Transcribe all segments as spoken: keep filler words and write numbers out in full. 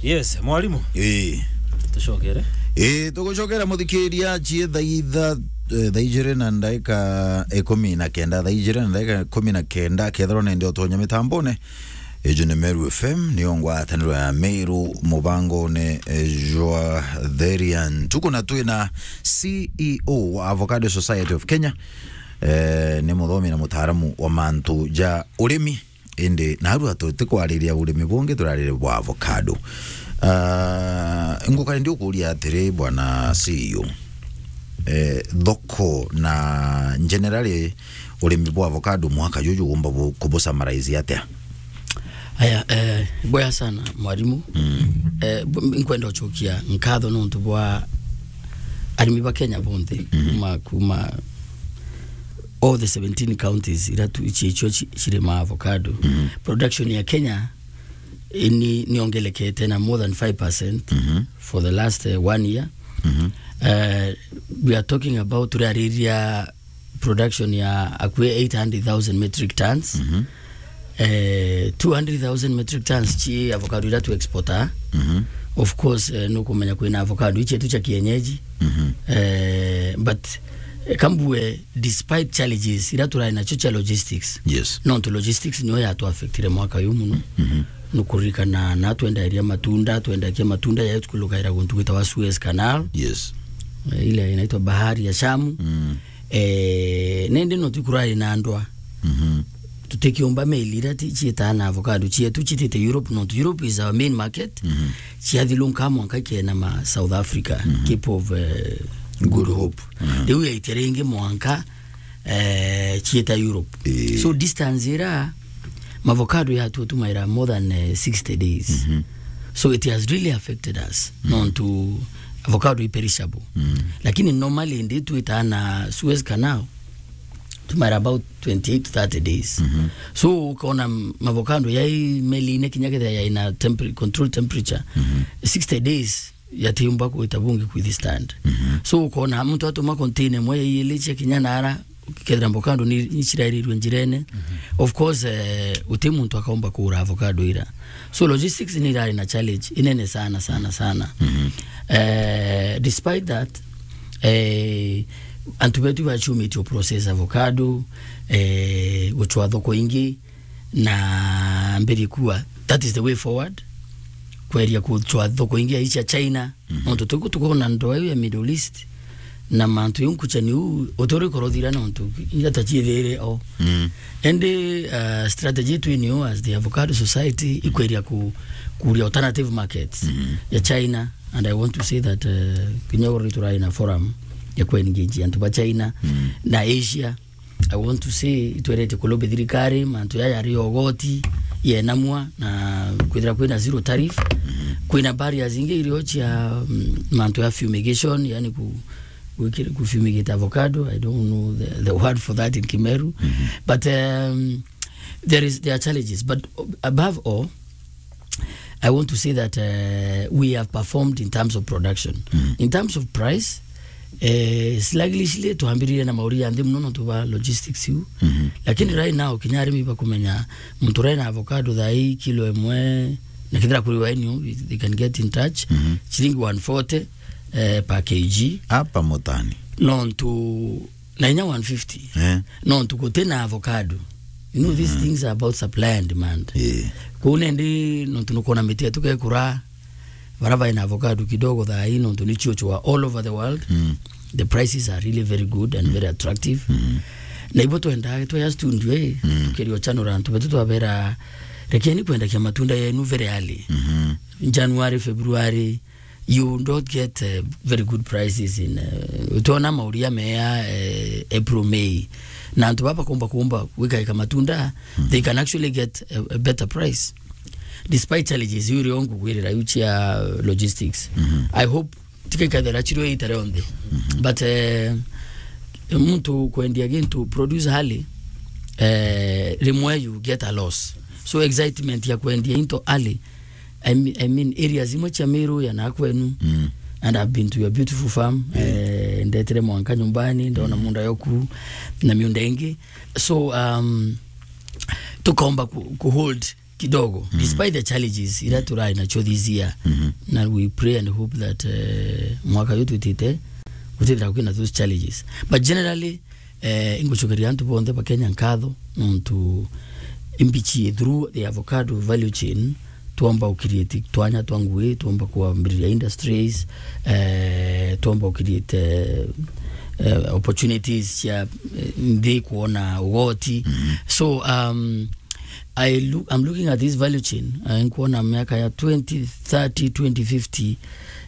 Yes, mwarimu. Ii. Tucokere. Ii, tugucokera muthikiria cie thaa itha, eh, thaa ijiri na ndaika ikumi na kenda, thaa ijiri na ndaika ikumi na kenda, kethirwa nende utonya mitambone. Iju ni Meru F M, niyo ngwataniro ya Meru mubangone, eh, jwa Therian. Tuku na twina C E O wa Avocado Society of Kenya. Eh, ni muthomi na mutaaramu wa mantu ja urimi. Indi narua tutikwariria urimi bungi, turaririe bwa avocado. Ah, ngukari ndi ukuria atiri, bwana C E O, eh, thoko na generally urimi bwa avocado mwaka juju umba bu-, kubusummarize atia? Aya, eh, bwega sana, mwarimu. Mm. Eh, bu-, nkwenda ucokia nkatho nontu bwa arimi ba Kenya bonthe, mhm, kuma, kuma all the seventeen counties ira tu, icio, icio ci-, cirima avocado. Mhm. Production ya Kenya, eh, ni, niongelekete na more than five percent, mhm, for the last, eh, one year. Mhm. Eh, we are talking about, turariria production ya akui eight hundred thousand metric tons. Mhm. Eh, two hundred thousand metric tons ci avocado ira tu exporter. Mhm. Of course, eh, nukumenya kwina avocado ici tu cia kienyeji. Mhm. Eh, but, eh, kambue, despite challenges ira turai nacio cia logistics. Yes. Nontu logistics niyo yatu affectire mwaka uyu muno. Mhm. Nukuririkana na twendagiria matunda, twendagia matunda ya tukulukaira guntu gwitawa Suez Canal. Yes. Eh, ile inaitwa Bahari ya Shamu. Mm. Eh, nende no tukurari na ndwa. Mhm. Tutikiumba meli ira ti-, ciitaa na avocado cietu citite Europe, nontu Europe is our main market. Mhm. Ciathilunka mwanka ikienama South Africa, mhm, Cape of, eh, Good Good Hope. Hope. Mhm. Riu yaitia ringi mwanka, eh, ciita Europe. Ii. So distance ira mavocado yatu tumaira more than, eh, sixty days. Mhm. So it has really affected us. Mhm. Nontu avocado i perishable. Mhm. Lakini normally ndi twitaa na Suez Canal, tumaira about twenty-eight to thirty days. Mhm. So ukona m-, mavocado yai meline kinya kethira yaina temper-, control temperature, mhm, sixty days yatiumba kwita bungi kwithi stand. Mhm. So ukona muntu atuma container imwe ya ili cia kinya nara, kethira avocado ni, ni cirairirwe njirene. Mhm. Of course, eh, uti muntu akaumba kura avocado ira. So logistics ni irari na challenge inene sana, sana, sana. Mhm. Eh, despite that, eh, antu betu bacumitio process avocado, eh, gucwa thoko ingi, na mbiri kuwa that is the way forward, kweria kucwa thoko ingi ya icia China. Mhm. Nontu tuku tukona ndoa iu ya Middle East na mantu iu nkuchani u uturi korothira nontu ila tachiethire o. Mm. Indi, uh, strategy yetu ni as the Avocado Society, mm, ikweria ku-, kuria alternative markets, mhm, ya China, and I want to say that, uh, kinya uri turai na forum ya ku engage antu ba China, mm, na Asia. I want to say, itwerete kulombe thirikari mantu yaya ari ogoti yenamwa na kwithira kwina zero tariff. Mhm. Kwina barriers ingi irio cia, mm, mantu ya fumigation, yani ku-, gwikira, ku fumigate avocado. I don't know the, the word for that in Kimeru. Mhm. But, um, there is, there are challenges. But above all, I want to say that, uh, we have performed in terms of production. Mm. In terms of price, eh, sluggishly, twambiririe na mauri ya nthi muno nontu bwa logistics iu. Mhm. Lakini right now, kinya arimi bakumenya muntu rai na avocado thaa ii kilo imwe, na kethira kuri wa enyu, they can get in touch. Mhm. Ciringi one forty, eh, per K G. Hapa Mutani. Nontu na inya one fifty. Eh. Nontu guti na avocado. You know, these, mhm, things are about supply and demand. Eh. Kuu nendi nontu nukwona miti yetu gekura, bara baina avocado kidogo thaa ii nontu ni chiochwa all over the world. Mm. The prices are really very good and, mm, very attractive. Mm. Na ibo twendaga tweya studio, eh, mm, tukeria uchanura antu betu twabera, rekeni kwendagia matunda yenu very early. Mhm. January, February, you don't get, uh, very good prices in, uh, utona mauria mea, uh, April, May. Na antu baba kumba kumba gwikaika matunda, mm, they can actually get a, a better price. Despite challenges, iu rio ngugwirira iu cia logistics. Mhm. I hope tikaikathira chirio ita rionthe. Mhm. But, uh, muntu kwendia gintu, produce early, uh, rimwe you get a loss. So excitement ya kwendia into early, I mean, I mean, areas imwe cia Meru ya na kwenu, mm, and I've been to your beautiful farm, yeah, eh, ndetire mwanka nyumbani, ndona, mm, munda yoku na miunda ingi. So, um, tukaomba ku, ku hold kidogo, despite the challenges ira turai nacio this year. Na we pray and hope that, eh, mwaka uyu twitite gutithira kwina those challenges. But generally, eh, ingucokeria antu bonthe ba Kenya nkatho nontu imbichi through the avocado value chain, twomba u create twanya twa ngui, twomba kwambiriria industries, eh, twomba u create, eh, eh, opportunities cia, eh, nthi kwona ugoti. So, um, I look, I'm looking at this value chain. Uh, nkuona miaka ya twenty thirty, twenty fifty,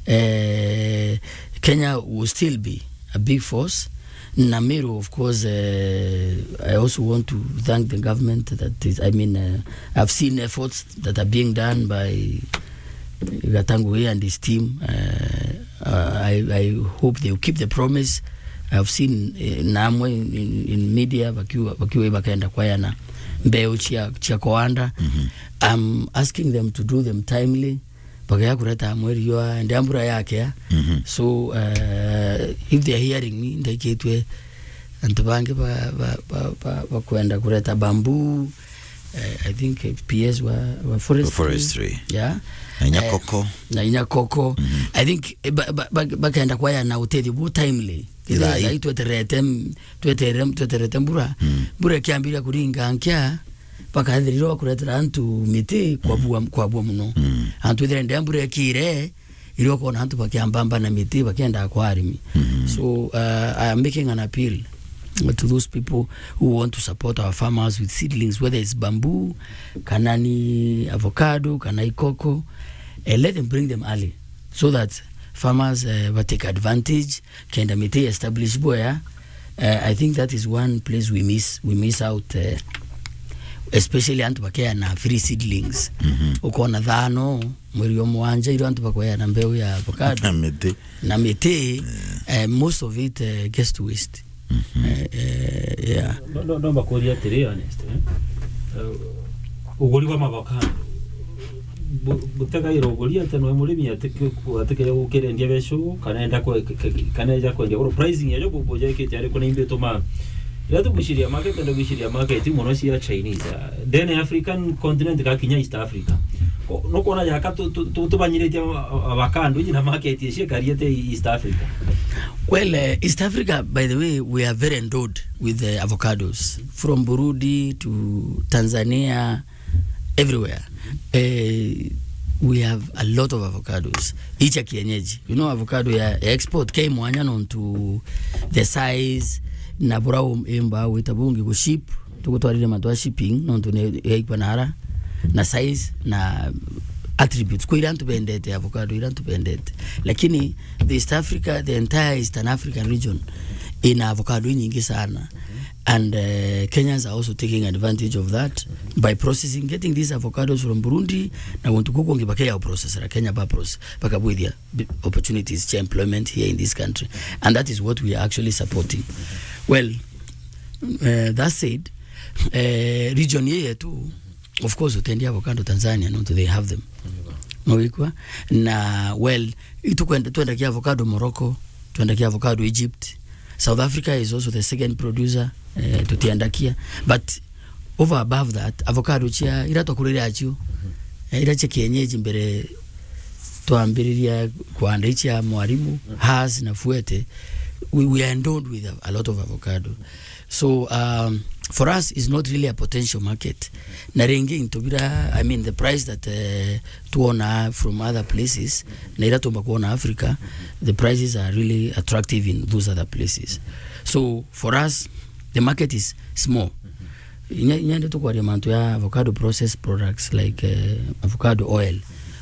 eh, Kenya will still be a big force. Na Meru, of course, eh, I also want to thank the government that is, I mean, uh, I've seen efforts that are being done by Gatangui and his team. Uh, uh, I, I hope they will keep the promise. I've seen, eh, namwe in, in, in media bakiwa, bakiwa bakenda kwayana mbeu cia, cia koanda. I'm asking them to do them timely. Bagea kureta mweri wa ndia mbura yakea. So, uh, if they are hearing me, ndaikitwe antu bangi ba, ba, ba, ba, bakwenda kureta bamboo. Eh, I think, eh, P S wa, wa forestry. Forestry. Yeah. Na inya Eh, koko. Na inya koko. I think, eh, ba, ba, ba, bakenda kwaya na utethio bu timely. Ithai. Ithai tweterete, m-, twetere-, tweterete mbura. Mbura ikiambiria kuringa nkia, bakathirirwa bakuretera antu miti kwabua, kwabua muno. Antu ithire ndia mbura ikire, irio kona antu bakiambamba na miti, bakienda kwa arimi. So, uh, I am making an appeal to those people who want to support our farmers with seedlings, whether it's bamboo, kana ni avocado, kana ikoko, eh, let them bring them early so that farmers, eh, ba take advantage, kenda miti establish boya. Eh, I think that is one place we miss, we miss out, eh, especially antu bakea na free seedlings. Ukona thano, mweri wa mwanja, irio antu bakwea na mbeu ya avocado. Na miti. Na miti, eh, most of it, eh, gets to waste. Eh, eh, yeah. No, no, no, mbakuria atiri, Ernest, eh? Eh, uguri bwa mavokado. Bu-, butegaira uguri ate no murimi atike ku-, atike gukirendia becu, kana enda kwe-, ke-, ke-, kana eja kwendia. Uru pricing ya joku buja ikite ari kuna imbe tuma. Ira tuguciria market, enda guciria market muno cia Chinese. Then African continent ka kinya East Africa. Ko-, nukwona jaka tu-, tu-, tu-, tubanyiritie a-, a-, avocado iji na market cia kariete East Africa. Well, eh, East Africa, by the way, we are very endowed with the avocados. From Burundi to Tanzania, everywhere. Eh, we have a lot of avocados. Icha kienyeji. You know, avocado ya, ya export ke mwanya nontu the size, na bura um-, imba wita bungi ku ship, tugutwarire mantu a shipping, nontu ni yaikwa nara, na size, na attributes. Kwa ira antu bendete avocado, ira antu bendete. Lakini the East Africa, the entire Eastern African region, ina avocado nyingi sana. And, uh, Kenyans are also taking advantage of that by processing, getting these avocados from Burundi, na guntu kuku kungi bakeya processera Kenya ba process, bakabwithia bi-, opportunities cha employment here in this country. And that is what we are actually supporting. Well, uh, that said, uh, region yetu, of course, utendi avocado Tanzania, no, they have them. Mwikwa? Na, well, itukwenda, twendagia avocado Morocco, twendagia avocado Egypt. South Africa is also the second producer, eh, tutiendakia. But over above that, avocado chia, ira twakurire achio, eh, ira chia kienyeji mbere twambiriria kwanda ichia Mwalimu, Hass na Fuete, we, we are endowed with a, a lot of avocado. So, um, for us, it's not really a potential market. Na ringi into bira, I mean, the price that, eh, tuona from other places, na ira tumba kuona Africa, the prices are really attractive in those other places. So, for us, the market is small. Inya, inya ndi tukwaria mantu ya avocado processed products like, eh, avocado oil.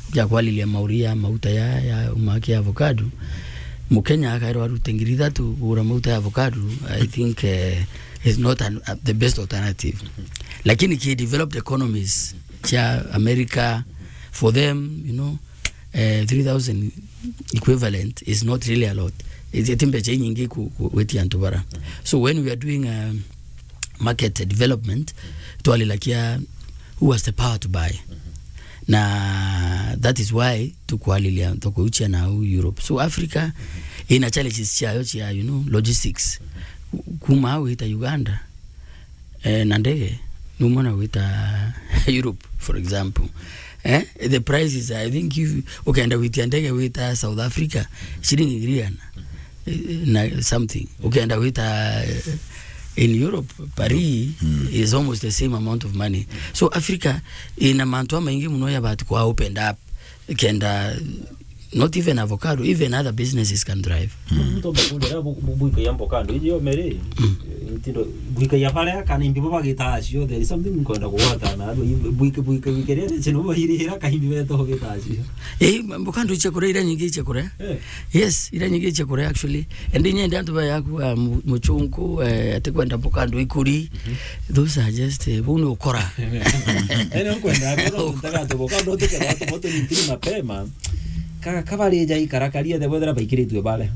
Ukia kwalilia mauria mauta ya, ya umaki ya avocado. Mukenya akairwa arute ngiri ithatu kugura mauta ya avocado, I think, eh, is not an, uh, the best alternative. Lakini ki developed economies cha America, for them, you know, eh, three thousand equivalent is not really a lot. Iti, iti mbecha inyingi ku, ku, gwitia antu bara. So when we are doing, um, market development, twalilakia who has the power to buy. Na that is why tukwalilia, tukuuchia na u Europe. So Africa ina challenges chiayo chia, you know, logistics. Kuma au ita Uganda, eh, na ndege, Numa na gwita Europe, for example. Eh? The price is, I think, if ukenda gwitia ndege wita South Africa, shilingi ngiri igana, eh, na something. Ukenda gwita, eh, in Europe, Paris, mm, is almost the same amount of money. So Africa ina mantu amaingi muno ya bati kwa opened up. Kenda, not even avocado, even other businesses can thrive. Mm. Muntu mbakundira bu-, bu-, buikagia avocado, ijo mere, mm, eh, ntindo, buikagia baria, kana imbi bo bagita acio, there is something nkwenda kugwata na, buike, buike, buike ria, chino bo iri ira, ka imbi beto gita acio. Eh, avocado ichia kuria, iria nyingi ichia kuria. Eh. Yes, iria nyingi ichia kuria, actually. And inya ndi antu ba yaku, ah, mu-, muchunku, eh, ati kwenda avocado ikuri. Mhm. Those are just, eh, bau ni ukora. Ene ukwenda, ati no ntaka tu avocado, tu kera tu moto ni ntiri mapema. Ka, kabari ja ikara karia the weather baikiritwe bare.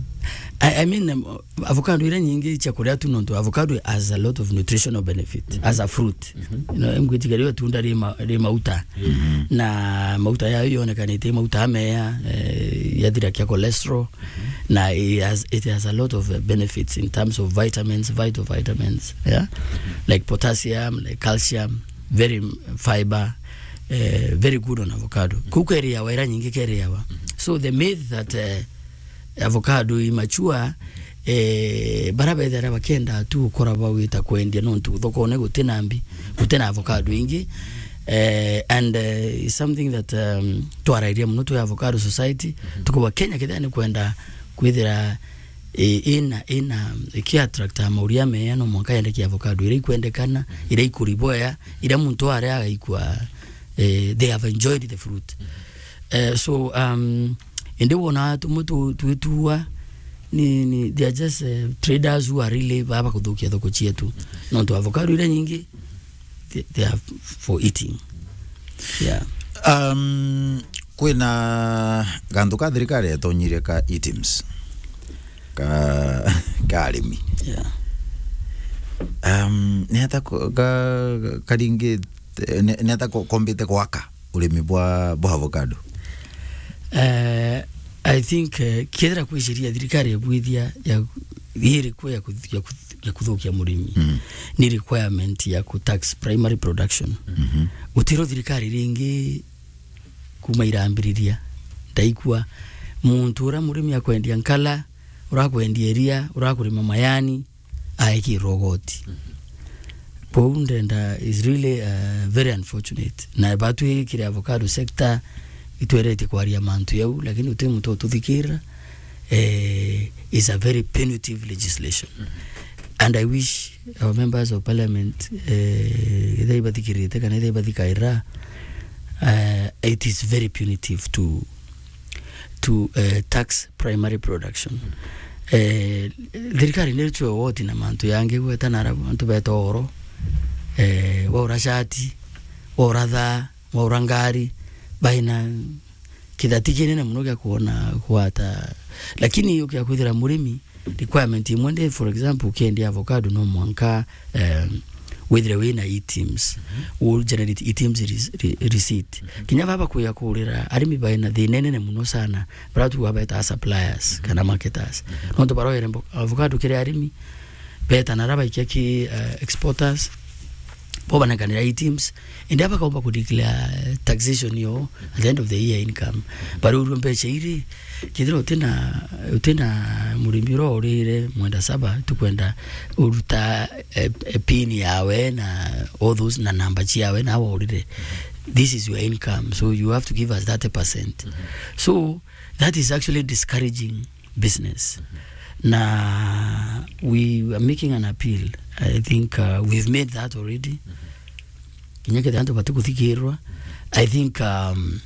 I, I mean, um, avocado iria nyingi cia kuria tu nontu avocado has a lot of nutritional benefit, mhm, as a fruit. Mhm. You know, ngwitiga rio tunda ri ma-, ri mauta. Mhm. Na mauta yayo yonekanite mauta amea, eh, yathira kia cholesterol. Mhm. Na it has, it has a lot of, uh, benefits in terms of vitamins, vital vitamins, yeah? Mhm. Like potassium, like calcium, very, mm, fiber, eh, very good on avocado. Mhm. Kuu keriawa, ira nyingi keriawa. Mhm. So the myth that, eh, avocado i mature, eh, bara bethera bakenda tu ukora bawita kwendia nontu thokone gutina mbi, gutina avocado ingi. Eh, and, eh, it's something that, um, twarairia muno twi avocado society. Mhm. Tukuwa Kenya kethira ni kwenda kwithira, eh, ina, ina, iki attract a mauria meya, no mwanka yendeke avocado ira ikwendekana, ira ikuri bwea, ira muntu aria agaikua, eh, they have enjoyed the fruit. Mhm. Eh, so, um, indi wona tumwe tu-, twitua ni, ni, they are just, eh, traders who are really baba kuthukia thoko cietu. Nontu avocado iria nyingi, they, they are for eating. Yeah. Um, kwina gantu ka thirikari yatonyire ka items. Ka, ka arimi. Yeah. Um, ni ata ko-, ka, karingi, ni, ni ata ko-, kombite gwaka urimi bwa, bwa avocado? Eh, I think, eh, kethira kwi sheria thirikari ebwithia ya, iriku ya kuth-, ya kuth-, ya kuthukia murimi, mm, ni requirement ya ku tax primary production. Mhm. Gutiro thirikari ringi kuma irambiriria ndaikua muntu uria murimi akwendia nkala, urakwendia iria, urakurima mayani, aekirwa ugoti. Mhm. Kwou ndenda is really, uh, very unfortunate. Na batwi kiri avocado sector, itweretie kwaria mantu yau, lakini uti muntu ututhikira, eh, is a very punitive legislation. Mhm. And I wish our members of parliament, eh, ethira ibathikirite kana ethira ibathikaira, eh, it is very punitive to, to, eh, tax primary production. Eh, thirikari ni tu woti na mantu yangi gweta na ara-, antu beta oro, eh, waura shati, waura thaa, waura ngari, baina kithati kinene muno gia kuona gwata. Lakini ukia kwithira murimi, requirement imwe ndi, for example, ukiendia avocado no mwanka, um, withire wina items, u generate items re-, re-, receipt. Kinya baba kuya kurira arimi baina thina inene muno sana, bara tu wabeta suppliers kana marketers. Nontu baroere mbo-, avocado kiri arimi, beta na raba ikia ki, uh, exporters, bo banekanira items, indi aba kaumba ku declare taxation yo at the end of the year income. Bari urua mbeca iri, kethira utina, utina murimi uria urire mwenda saba, tukwenda uruta, eh, eh, pin yawe na all those na namba ciawe na awa urire. This is your income, so you have to give us thirty percent. So that is actually discouraging business. Na we are making an appeal. I think, uh, we've made that already. Kinya kethira antu batikuthikirwa, I think, um,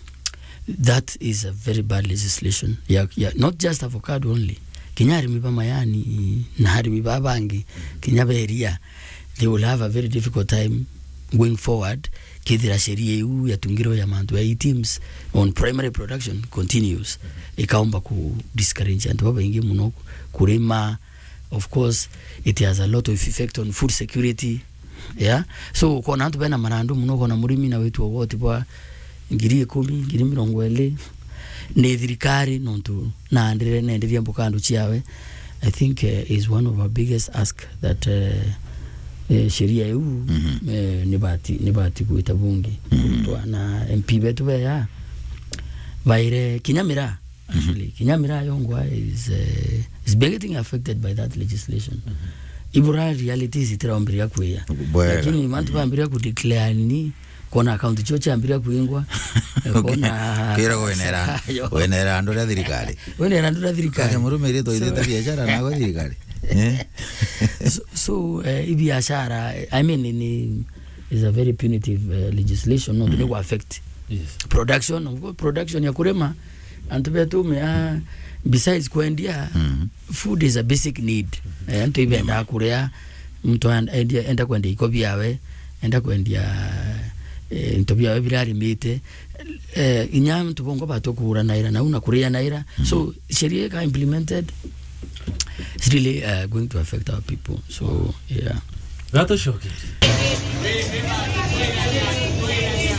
that is a very bad legislation. Ya, ya, not just avocado only. Kinya arimi ba mayani na arimi ba bangi, kinya beria, they will have a very difficult time going forward, kethira sheria iu yatungirwe ya mantu ya items on primary production continues, ikaumba ku discourage antu babaingi muno kurima. Of course, it has a lot of effect on food security. Yeah? So, ukona antu bena marandu muno, ukona murimi na witu ugoti bwa ngiri ikumi, ngiri mirongo iri, ni thirikari, nontu naandire, nenderia mbukandu ciawe, I think, uh, is one of our biggest ask that, uh, eh, sheria iu, eh, ni bati, ni bati gwita bunge. Kurutwa na M P betu beya, baire kinya miraa, actually. Kinya miraa yongwa is, eh, is getting affected by that legislation. Ibura realities itiraumbiria kwia. Bwega. Lakini mantu bambiria ku declare ni, kona account cio ciambiria kuingwa. Kona kwira wenera, wenera andu ria thirikari. Wenera andu ria thirikari. Kake murume ritwa ithite biashara na gwa thirikari. Eh? So, so, eh, i biashara, I mean, ni, is a very punitive, eh, legislation, no, ni affect production, of course, production ya kurima, antu betu me, ah, besides kwendia, food is a basic need. Eh, antu ibendaa kuria, muntu an-, endia, enda kwendia iko biawe, enda kwendia, eh, into biawe biria arimite. Eh, inya antu bongwa batukuguranaira nau na kurianaira. So, sheria ika implemented, it's really, uh, going to affect our people. So, yeah. Gatucokerie.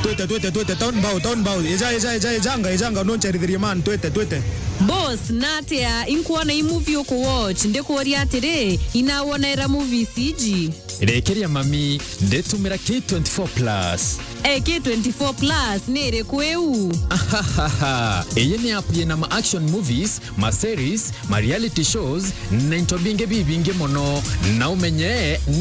Twite, twite, twite, town bow, town bow. Eja, eja, eja, ejanga, ejanga, noncherithirie man, twite, twite. Boss, natia inkwona i movie uku watch, ndikuuria atiri, inawonaira movies iji? Rekeria mami, nditumira K twenty-four plus. Eh, K twenty-four plus ni iriku iu? Ahahaha. Iyi ni app yina ma action movies, ma series, ma reality shows, na into bingi bibingi mono. Na umenye ni